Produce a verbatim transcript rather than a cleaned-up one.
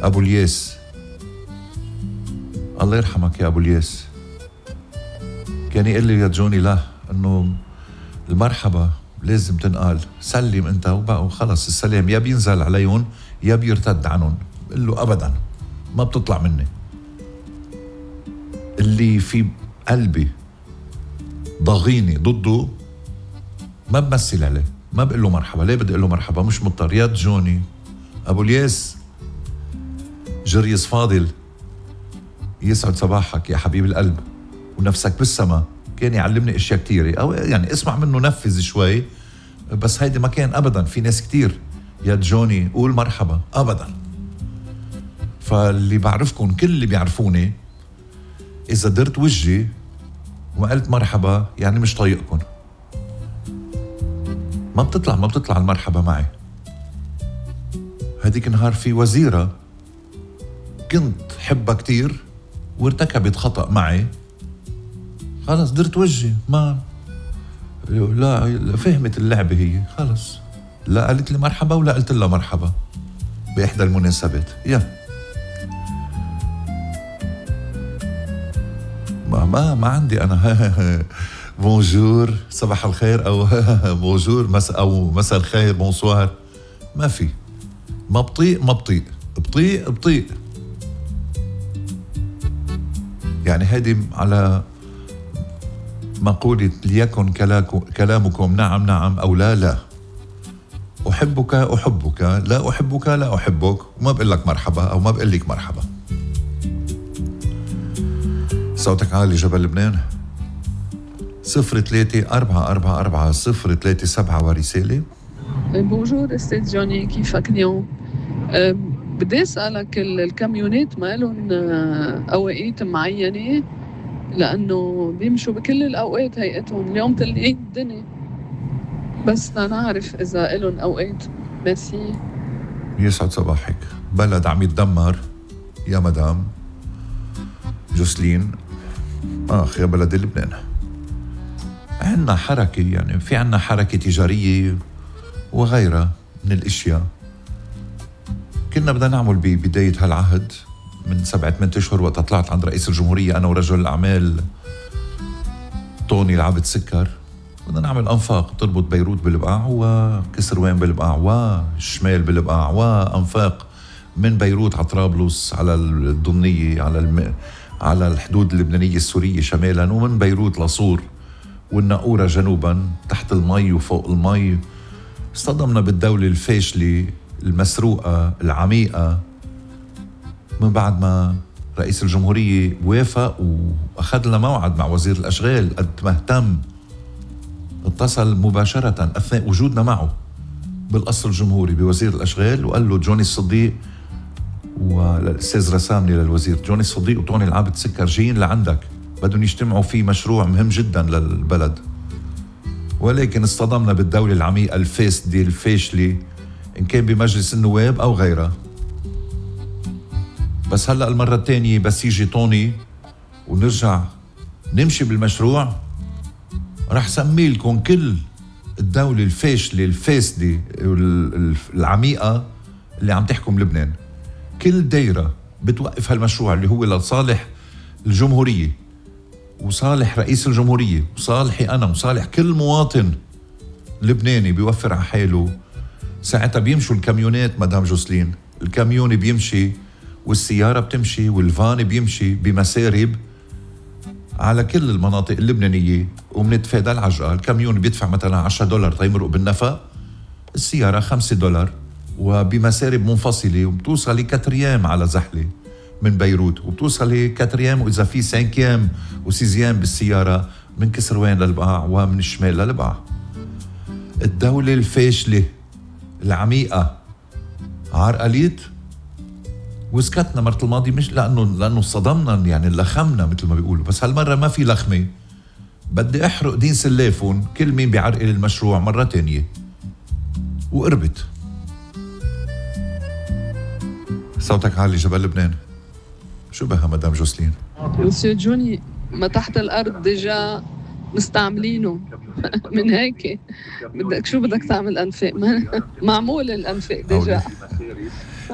أبو الياس، الله يرحمك يا أبو الياس، كان يقول لي يا جوني لا إنه المرحبا لازم تنقال، سلم أنت وخلص، السلام يا بينزل عليهم يا بيرتد عنهم. بقول له أبدا ما بتطلع مني، اللي في قلبي ضغيني ضده ما بمثل عليه، ما بقول له مرحبا. ليه بدي أقول له مرحبا؟ مش مضطر. يا جوني أبو الياس جريس فاضل، يسعد صباحك يا حبيب القلب ونفسك بالسما. كان يعلمني اشياء كتيرة، او يعني اسمع منه نفذ شوي، بس هيدي ما كان ابدا. في ناس كتير يا جوني قول مرحبا ابدا. فاللي بعرفكم كل اللي بيعرفوني اذا درت وجهي وما قلت مرحبا يعني مش طايقكم، ما بتطلع ما بتطلع المرحبا معي. هديك النهار في وزيرة كنت حبها كتير وارتكبت خطأ معي، خلص درت وجهي ما لا فهمت اللعبة هي، خلص لا قالت لي مرحبا ولا قلت لها مرحبا بإحدى المناسبات. يا ما ما ما عندي أنا بونجور صباح الخير أو بونجور مس أو مساء الخير بونسوار، ما في. ما بطيء ما بطيء بطيء بطيء يعني هذه على مقولة ليكن كلامكم نعم نعم أو لا لا. أحبك أحبك، لا أحبك لا أحبك، وما بقول لك مرحبا أو ما بقول لك مرحبا. صوتك عالي جبل لبنان. صفر ثلاثة أربعة أربعة أربعة صفر ثلاثة سبعة ورسالة. بونجور أستاذ جوني، كيفك اليوم؟ أه بدي أسألك الكاميونات ما لهم أوقات معينة؟ لأنه بيمشوا بكل الأوقات هيئتهم، اليوم تلقين الدنيا، بس لنعرف إذا إلهم أوقات. ميرسي. يسعد صباحك. بلد عم يتدمر يا مدام جوسلين. آخ يا بلد لبنان، عنا حركة، يعني في عنا حركة تجارية وغيرها من الاشياء. كنا بدنا نعمل ببداية هالعهد من سبعة ثمانية اشهر وقت طلعت عند رئيس الجمهورية انا ورجل الاعمال طوني العبد سكر، بدنا نعمل انفاق تربط بيروت بالبقاع وكسروان بالبقاع والشمال بالبقاع، وانفاق من بيروت على طرابلس على الضنية على الم... على الحدود اللبنانية السورية شمالا، ومن بيروت لصور والناقورة جنوبا تحت المي وفوق المي. اصطدمنا بالدولة الفاشلة المسروقة العميقة من بعد ما رئيس الجمهورية وافق وأخذ لنا موعد مع وزير الأشغال. قد ما اهتم اتصل مباشرة أثناء وجودنا معه بالقصر الجمهوري بوزير الأشغال وقال له جوني الصديق والأستاذ رسامني للوزير جوني الصديق وطوني العابد سكر جايين لعندك، بدهم يجتمعوا في مشروع مهم جدا للبلد. ولكن اصطدمنا بالدولة العميقة الفاسدة الفاشلة إن كان بمجلس النواب أو غيرها. بس هلأ المرة الثانية بس يجي طوني ونرجع نمشي بالمشروع، رح سمي لكم كل الدولة الفاشلة الفاسدة العميقة اللي عم تحكم لبنان. كل دايرة بتوقف هالمشروع اللي هو لصالح الجمهورية وصالح رئيس الجمهورية وصالحي أنا وصالح كل مواطن لبناني بيوفر على حاله، ساعتها بيمشوا الكاميونات مدام جوسلين. الكاميون بيمشي والسيارة بتمشي والفان بيمشي بمسارب على كل المناطق اللبنانية ومنتفادى العجقة. الكاميون بيدفع مثلا عشرة دولار تيمرق بالنفق، السيارة خمسة دولار وبمسارب منفصلة، وبتوصل كتريام على زحلة من بيروت، وبتوصل كتريام وإذا في سانكيام وسيزيام بالسيارة من كسروان للبقاع ومن الشمال للبقاع. الدولة الفاشلة العميقة عرقليت وسكتنا مرة الماضي، مش لأنه لأنه صدمنا يعني لخمنا مثل ما بيقولوا، بس هالمرة ما في لخمة. بدي أحرق دين سلافون كل مين بيعرقل المشروع مرة تانية وقربت. صوتك عالي جبل لبنان. شو بها مدام جوسلين؟ مسيو جوني، ما تحت الأرض ديجا مستعملينه من هيك بدك شو بدك تعمل أنفاق؟ معمول الأنفاق ديجا.